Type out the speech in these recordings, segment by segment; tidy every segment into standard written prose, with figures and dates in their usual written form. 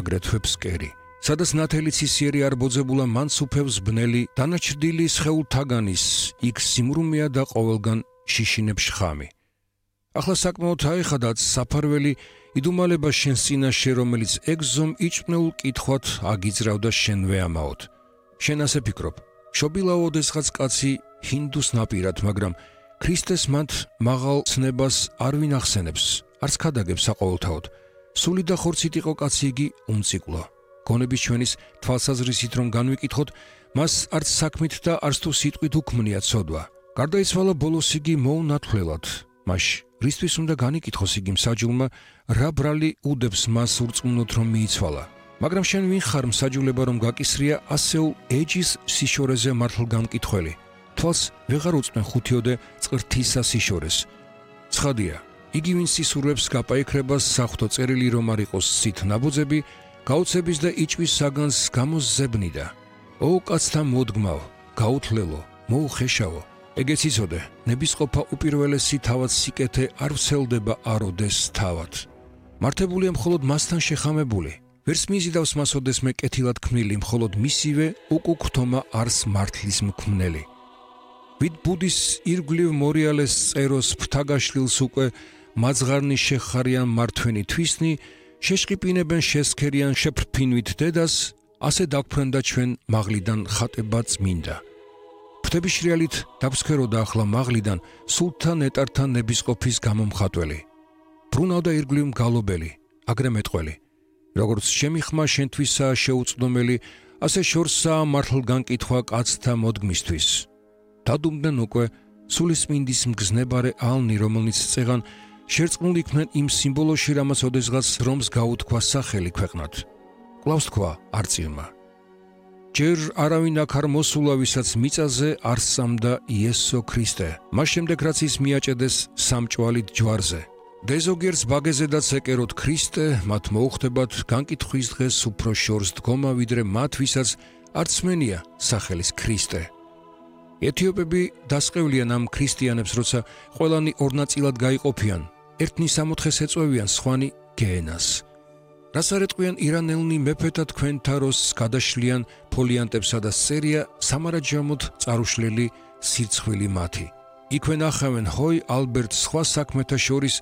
აგრეთვე ფსკერი. სადაც ნათელი ცისიერი არ ბოძებულა, მან სუფევს ბნელი, დანაჩრდილი სხეულთაგანის, იქ სიმრუმეა და ყოველგან შიშინებს შხამი. ახლა საკმაოდ აეხადაც საფარველი იდუმალება შენს წინაშე, რომელიც ეგზომ იჭმნეულ კითხვად აგიძრავდა შენვე ამაოდ. შენ ასე ფიქრობ, შობილაო ოდესღაც კაცი ჰინდუს ნაპირად, მაგრამ ქრისტეს მათ მაღალ ცნებას არ ვინ ახსენებს, არც ქადაგებს საყოველთაოდ. სული და ხორცით იყო კაცი იგი უმციკლო. გონების ჩვენის თვალსაზრისით რომ განვიკითხოთ, მას არც საქმით და არც თუ სიტყვით უქმნია ცოდვა. გარდაიცვალა ბოლოს იგი მოუნათლელად. მაშ რისთვის უნდა განიკითხოს იგი მსაჯულმა, რა ბრალი უდებს მას ურწმუნოდ რომ მიიცვალა. მაგრამ შენ ვინ ხარ მსაჯულება რომ გაკისრია ასეულ ეჯის სიშორეზე მართლგამკითხველი. თვალს ვეღარ უწმენ ხუთიოდე წრთისა სიშორეს. ცხადია, იგი ვინც ისურვებს გაპაიქრებას საღვთო წერილი რომ არ იყოს სით ნაბოძები, გაუცების და იჭვის საგანს გამოზზებნიდა. ო კაცთა მოდგმავ, გაუთლელო, მოუხეშავო. ეგეც იცოდე, ნებისყოფა უპირველესი თავად სიკეთე არ ვრცელდება აროდეს თავად. მართებულია მხოლოდ მასთან შეხამებული. ვერც მიზიდავს მას ოდესმე კეთილად ქმნილი, მხოლოდ მისივე უკუქთომა არს მართლის მქმნელი. ვით ბუდის ირგვლივ მორიალეს წეროს ფრთაგაშლილს უკვე მაძღარნი შეხარიან მართვენი თვისნი, შეშყიპინებენ შესქერიან შეფრფინვით დედას, ასე დაგფრენდა ჩვენ მაღლიდან ხატება წმინდა. ფრთების შრიალით დაგვსქეროდა ახლა მაღლიდან სულთა ნეტართან ნებისყოფის გამომხატველი. ბრუნავდა ირგვლივ მგალობელი, აგრე მეტყველი. როგორც ჩემი ხმა შენთვისაა შეუწდომელი, ასე შორსაა მართლგანკითხვა კაცთა მოდგმისთვის. დადუმდნენ უკვე სულისწმინდის მგზნებარე ალნი, რომელნიც წეღან შერწყმულ იქნენ იმ სიმბოლოში, რამაც ოდესღაც რომს გაუთქვა სახელი ქვეყნად. კვლავ თქვა არწივმა. ჯერ არავინ აქ არ მოსულა, ვისაც მიწაზე არ სწამდა იესო ქრისტე. მას შემდეგ რაც ის მიაჭედეს სამჭვალით ჯვარზე. დეზოგერს ბაგეზედაც ეკეროთ ქრისტე, მათ მოუხდებათ განკითხვის დღეს უფრო შორს დგომა, ვიდრე მათ, ვისაც არ ცმენია სახელის ქრისტე. ეთიოპები დასყევლიან ამ ქრისტიანებს, როცა ყველანი ორ ნაწილად გაიყოფიან, ერთნი სამოთხეს ეწვევიან, სხვანი გეენას. რას არ ეტყვიან ირანელნი მეფეთა თქვენთა როს გადაშლიან ფოლიანტებსა და სერია სამარაჯამოდ წარუშლელი სირცხვილი მათი. იქვე ნახავენ ჰოი ალბერტ სხვა საქმეთა შორის,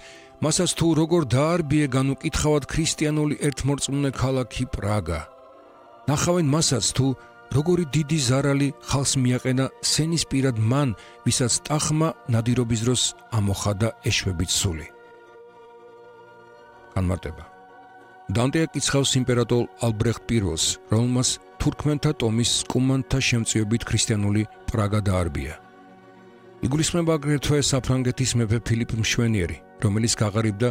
მასაც თუ როგორ დაარბიე განუკითხავად ქრისტიანული ერთმორწმუნე ქალაქი პრაგა. ნახავენ მასაც თუ როგორი დიდი ზარალი ხალხს მიაყენა სენისპირად მან, ვისაც ტახმა ნადირობის დროს ამოხადა ეშვებით სული. განმარტება. დანტე აკიცხავს იმპერატორ ალბრეხტ პირველს, რომელმაც თურქმენთა ტომის კუმანთა შემწეობით ქრისტიანული პრაგა დაარბია. იგულისხმება აგრეთვე საფრანგეთის მეფე ფილიპ მშვენიერი, რომელიც გაღარიბდა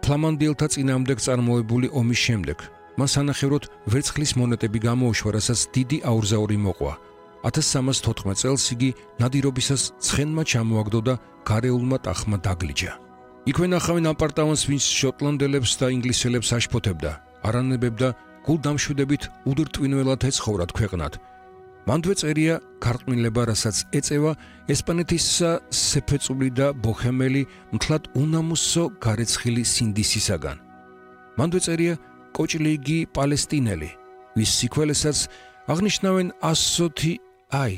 ფლამანდიელთა წინააღმდეგ წარმოებული ომის შემდეგ. მან სანახევროდ ვერცხლის მონეტები გამოუშვა, რასაც დიდი აურზაური მოყვა. 1314 წელს იგი ნადირობისას ცხენმა ჩამოაგდო და გარეულმა ტახმა დაგლიჯა. იქვე ნახავენ აპარტამენტს, ვინც შოტლანდელებს და ინგლისელებს აშფოთებდა, არანებებდა, გულდამშვიდებით უდრტვინველად ეცხოვრათ ქვეყნად. მანდვე წერია ქარყმილება, რასაც ეწევა ესპანეთისა სეფეწული და ბოჰემელი მთლად უნამუსო გარეცხილი სინდისისაგან. მანდვე წერია კოჭლიგი პალესტინელი, ვის სიქველესაც აღნიშნავენ 120 აი,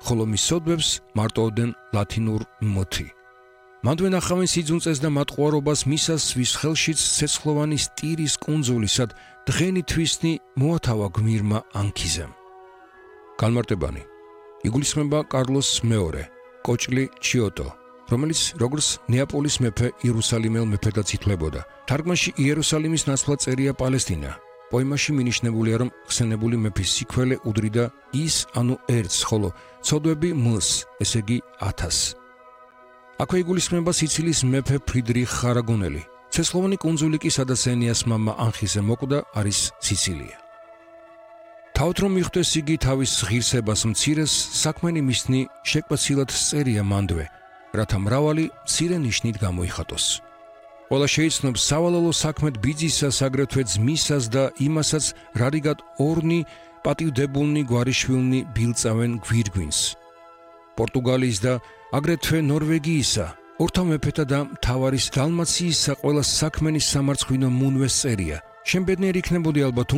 ხოლო მის სოდვებს მარტოოდენ ლათინურ მოთი. მანდვე ნახავენ სიძუნწეს და მატყუარობას მისას, ვის ხელშიც ცეცხლოვანი სტირის კუნძული, სად დღენი თვისნი მოათავა გმირმა ანქიზემ. განმარტებანი. იგულისხმება კარლოს მეორე, კოჭლი ჩიოტო, რომელიც როგორც ნეაპოლის მეფე იერუსალიმელ მეფედაც ითვლებოდა. თარგმანში იერუსალიმის ნაცვლად წერია პალესტინა. პოემაში მინიშნებულია, რომ ხსენებული მეფის სიქველე უდრიდა ის, ანუ ერთს, ხოლო ცოდვები მლს, ესე იგი 1000. აქვე იგულისხმება სიცილის მეფე ფრიდრიხ არაგონელი. ცეცხლოვანი კუნძული კი, სადაც ენიას მამა ანხიზე მოკვდა, არის სიცილია. თავთ რომ მიხვდეს იგი თავის ღირსებას მცირეს, საქმენი მისნი შეკვეცილად წერია მანდვე, რათა მრავალი მცირე ნიშნით გამოიხატოს. ყველა შეიცნობს სავალალო საქმედ ბიძისას, აგრეთვე ძმისას და იმასაც, რარიგად ორნი პატივდებულნი გვარიშვილნი ბილწავენ გვირგვინს. პორტუგალიის და აგრეთვე ნორვეგიისა, ორთა მეფეთა და მთავარის დალმაციისა ყველა საქმენის სამარცხვინო მუნვეს წერია. შენ ბედნიერი იქნებოდი ალბათ